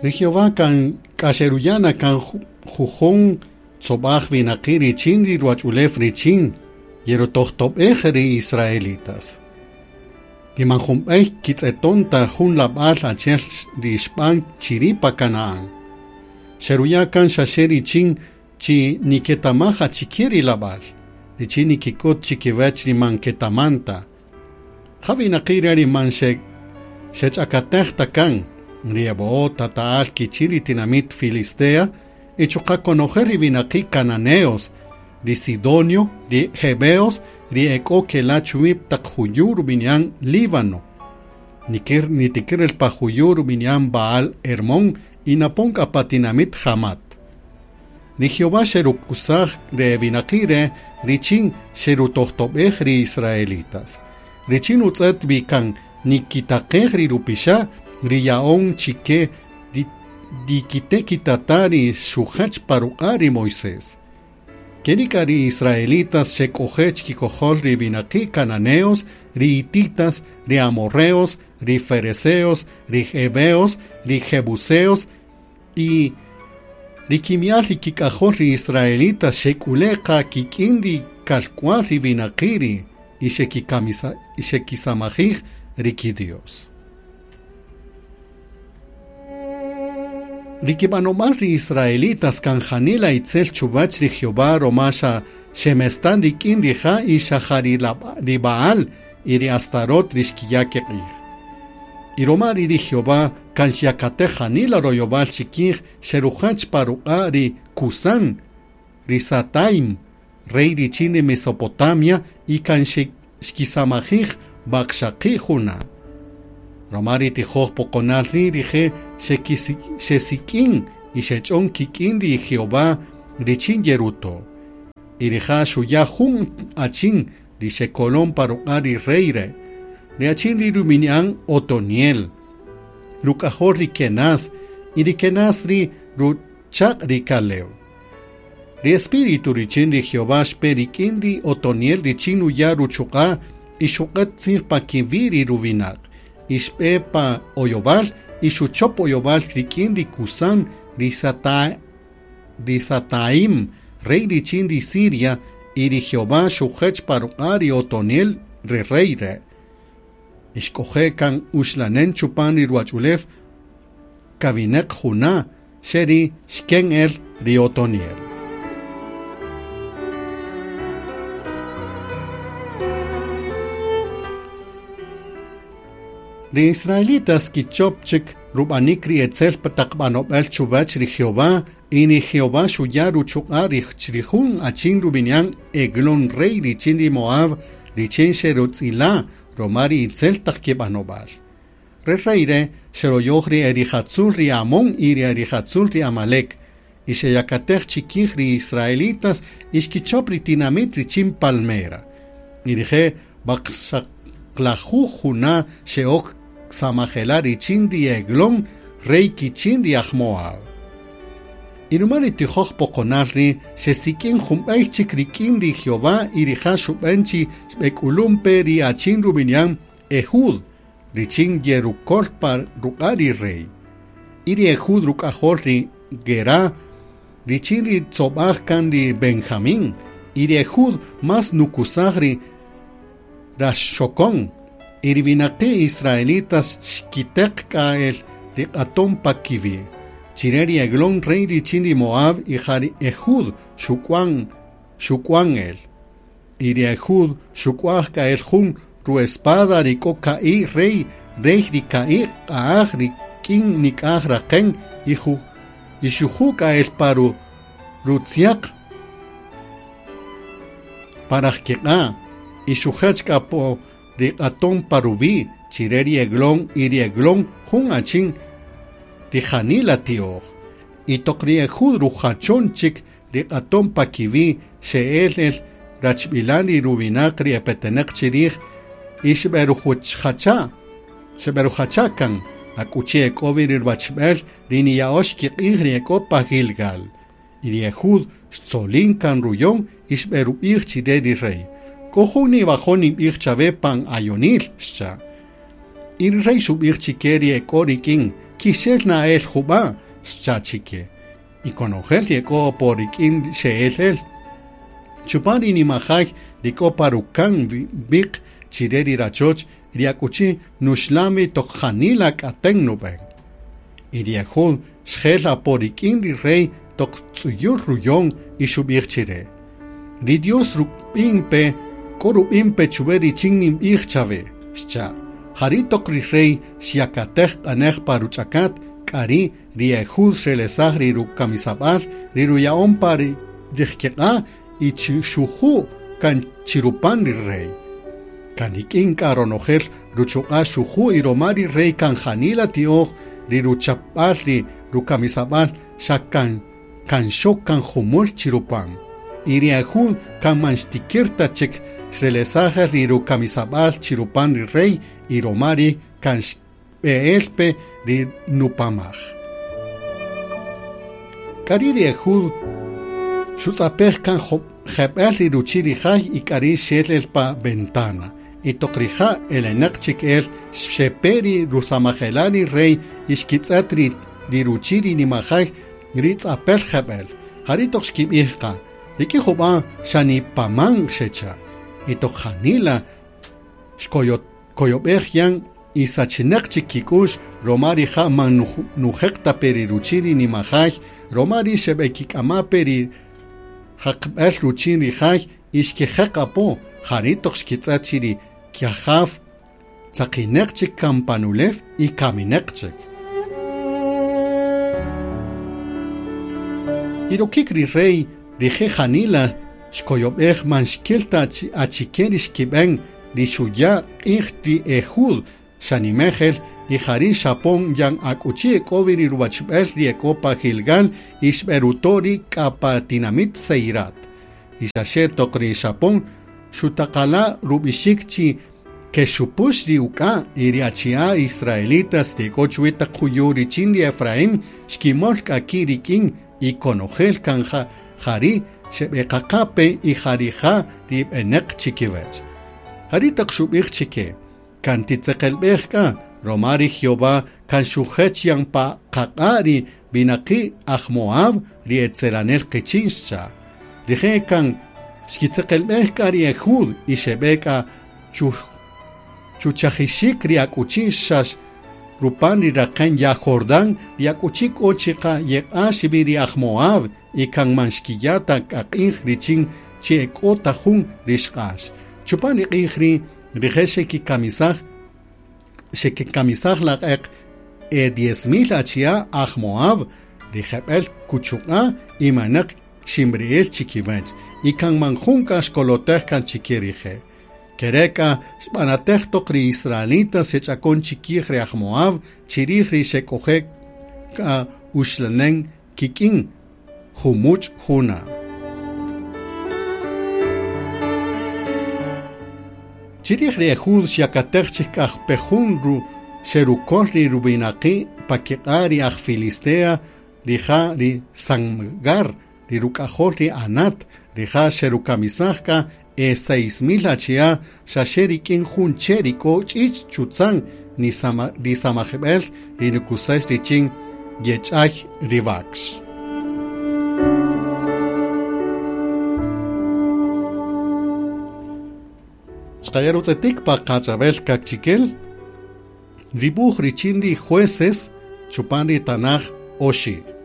Ri Jehová kan k'axeruyana kan jujun tzob'aj winaqi' richin ri ruwach'ulew richin yerutojtob'ej ri israelitas. Ri man junb'ey kitz'eton ta jun lab'al achi'el ri xb'an chiri' pa Canaán. Xeruya' kan xaxe richin chi niketamaj achike ri lab'al, richin nikik'ut chikiwach ri man ketaman ta. Ja winaqi' re' ri man xech'akatej ta kan, ri eb'o'o tata'al kichin ri tinamit Filistea y chuqa' konojel ri winaqi' cananeos, ri Sidonio, ri Heveos, ri ek'o kela' chuwi' taq juyu' rub'ini'an Líbano. Nitikir el pa juyu' rub'ini'an Baal Hermón y napon k'a pa tinamit Hamat. Ri Jehová xerukusaj re winaqi' re' richin xerutojtob'ej ri israelitas. Richin utz'et wi kan nikitaqej ri rupixa' ri ya'on chike dikite kitata ri xujach pa ruq'a' ri Moisés. Kerika ri israelitas xek'oje chikikojol ri winaqi' cananeos, ri hititas, ri amorreos, ri fereceos, ri heveos, ri jebuseos y ri kimi'al ri kik'ajol ri israelitas xek'uleqa kik'in ri kalk'wal ri winaqi' ri y xekisamajij ri kidios. Ri kib'anob'al ri israelitas kan janila itzel chuwach ri Jehová roma xa xemestan rik'in rija' y xa ja ri Baal y ri Astarot ri xkiya' kiq'ij. Y roma ri Jehová kan xyakatej janila royowal chikij xerujach pa ruq'a' ri Cusán, ri Sataim, rey richin ri Mesopotamia y kan xkisamajij waqxaqi' juna'. Roma ri tijoj poqonal ri' rije' xesik'in y xech'on kik'in ri Jehová richin yeruto'. Y rija' xuya' jun achin ri xekolon pa ruq'a' ri rey re'. Ri achin ri rub'ini'an Otoniel, ruk'ajol ri Kenaz y ri Kenaz ri ruchaq' ri Caleb. Ri espíritu richin ri Jehová xpe rik'in ri Otoniel richin nuya' ruchuq'a' y xuq'et tzij pa kiwi' ri ruwinaq. Y xb'e pa oyowal y xuchop oyowal rik'in ri Cusán ri Sataim, rey richin ri Siria, y ri Jehová xujech pa ruq'a' ri Otoniel ri rey re'. Ixk'oje' kan uxlanen chupan ri ruwach'ulew kawineq juna' xeri xken el ri Otoniel. Ri israelitas kichop chik rub'anik ri etzel taq b'anob'al chuwach ri Jehová y ri Jehová xuya' ruchuq'a' ri jun achin rub'ini'an Eglón rey richin ri Moab richin xerutz'ila' roma ri itzel taq kib'anob'al. Re rey re' xeroyoj ri erijatzul ri Amón y ri erijatzul ri Amalek y xeyakatej chikij ri israelitas y xkichop ri tinamit richin Palmera. Y rije' waqxaqlajuj juna' xe'ok samajela' richin ri Eglón, rey kichin ri aj Moab. Y ruma ri tijoj poqonal ri' xesik'in junb'ey chik rik'in ri Jehová y rija' xub'en chi xb'ek'ulumpe ri achin rub'ini'an Ehud, richin yerukol pa ruq'a' ri rey. Y ri Ehud ruk'ajol ri Guerá, richin ri tzob'aj kan ri Benjamín, y ri Ehud mas nukusaj ri raxokon, y ri winaqi' israelitas xkiteq k'a el ri q'aton pa kiwi'. Chire ri Eglón rey richin ri Moab y ja ri Ehud xuk'wan el. Y ri Ehud xuk'waj k'a el jun ruespada ri k'o ka'i' rey rey ri ka'i' q'a'aj ri k'in nik'aj raqen y xuju' k'a el pa rutziaq paraj kiq'a' y xujach k'a po ri q'aton pa ruwi' chire ri Eglón y ri Eglón jun achin ri janila ti'oj. Y toq ri Ehud rujachon chik ri q'aton pa kiwi' xe'el el rachb'ilan ri ruwinaq ri epeteneq chirij y xb'erujacha' kan ak'uchi ek'o wi ri ruwachb'el ri niya'ox kiq'ij ri ek'o pa Gilgal. Y ri Ehud xtzolin kan ruyon y xb'erub'ij chire ri rey. K'o jun niwajo' ninb'ij chawe pan ayonil, xcha'. Y ri rey xub'ij chike ri ek'o rik'in. Kixel na el juba, xcha chike. Y konojel ri ek'o apo rik'in xe'el el. Chupan ri nimajay ri k'o pa rukan wiq chire ri rachoch ri akuchi nuxlami toq janila k'aten nub'en. Y ri Ejud xjel apo rik'in ri rey toq tz'uyul ruyon y xub'ij chire. Ri Dios rub'in pe, k'o rub'in pe chuwe richin ninb'ij chawe, xcha'. Jari toq ri rey xyakatej q'anej pa ruch'akat, k'ari ri Ejud xrelesaj ri rukamisab'al, ri ruya'on pa ri rijkiq'a' y xuju' kan chirupan ri rey. Kan rik'in k'a ronojel ruchuq'a' xuju' y roma ri rey kan janila ti'oj ri ruchapb'al ri rukamisab'al xa kan kan xok kan jumul chirupan. Y ri Ejud kan man xtikir ta chik xrelesaj ri rukamisab'al chirupan ri rey y roma ri kan xb'e'el pe ri nupamaj. K'ari ri Ejud xutz'apej kan jeb'el ri ruchi' ri jay y k'ari xel el pa ventana. Y toq rija' elenaq chik el xepe ri rusamajela' ri rey y xkitz'et ri ruchi' ri nimajay ri tz'apel jeb'el. Jari toq xkib'ij qa, rik'in jub'a' xanipaman xecha'. Y toq janila xkoyob'ej yan y sachinaq chik kik'ux roma rija' man nujeq ta pe ri ruchi' ri nimajay, roma ri xeb'ekik'ama pe ri jaqb'el ruchi' ri jay y xkijeq apo, jari toq xkitz'et chi ri kiajaw tzaqineq chik kan pan ulew y kamineq chik. Y rokik ri rey rije' janila xkoyob'ej man xkil ta achike ri xkib'en ri xuya' q'ij ri Ejud xanimejel y jari xapon yan akuchi ek'o wi ri ruwachb'el ri ek'o pa Gilgal y xb'eruto' ri k'a pa tinamit Seirat. Y xaxe toq ri xapon xutaqala' rub'ixik chi kexupux ri uk'a' y ri achi'a' israelitas ri ek'o chuwi taq juyu' richin ri Efraín xkimol k'a ki' rik'in y konojel kan jari xeb'eqaqa pe y jarija' ri b'eneq chikiwech. Jari taq xub'ij chike, kan titzeqelb'ej k'a, roma ri Jehová kan xujech yan pa qaq'a' ri winaqi' aj Moab ri etzelanel qichin xcha'. Rije' kan xkitzeqelb'ej k'a ri Ejud y xeb'e k'a chuchajixik ri akuchi xax rupan ri raqen ya Jordán ri akuchi k'o chiqa yeq'ax wi ri aj Moab y kan man xkiya' ta k'a q'ij richin chi ek'o ta jun ri xq'ax. Chupan ri q'ij ri' rije' xekikamisaj laq'eq e 10,000 achi'a' aj Moab ri jeb'el kuchuq'a' y manaq ximri'il chikiwech y kan man jun k'a xkolotej kan chike rije'. Kereka xb'anatej toq ri israelitas xech'akon chikij ri aj Moab chirij ri xek'oje' k'a uxlanen kik'in jumuch' juna. Chirij ri Ejud xyakatej chik k'aj pejun ru xerukol ri ruwinaqi' pa kiq'a' ri aj Filistea rija' ri Samgar ri ruk'ajol ri Anat rija' xerukamisaj k'a e 6,000 achi'a' xaxe rik'in jun che' ri k'o ch'ich' chutzan ri samajib'el ri nukusex richin yech'ay ri wakx. Xqaya' rutz'etik pa qach'ab'el kakchikel, ribuj richin ri jueces chupan ri tanaj oxi'.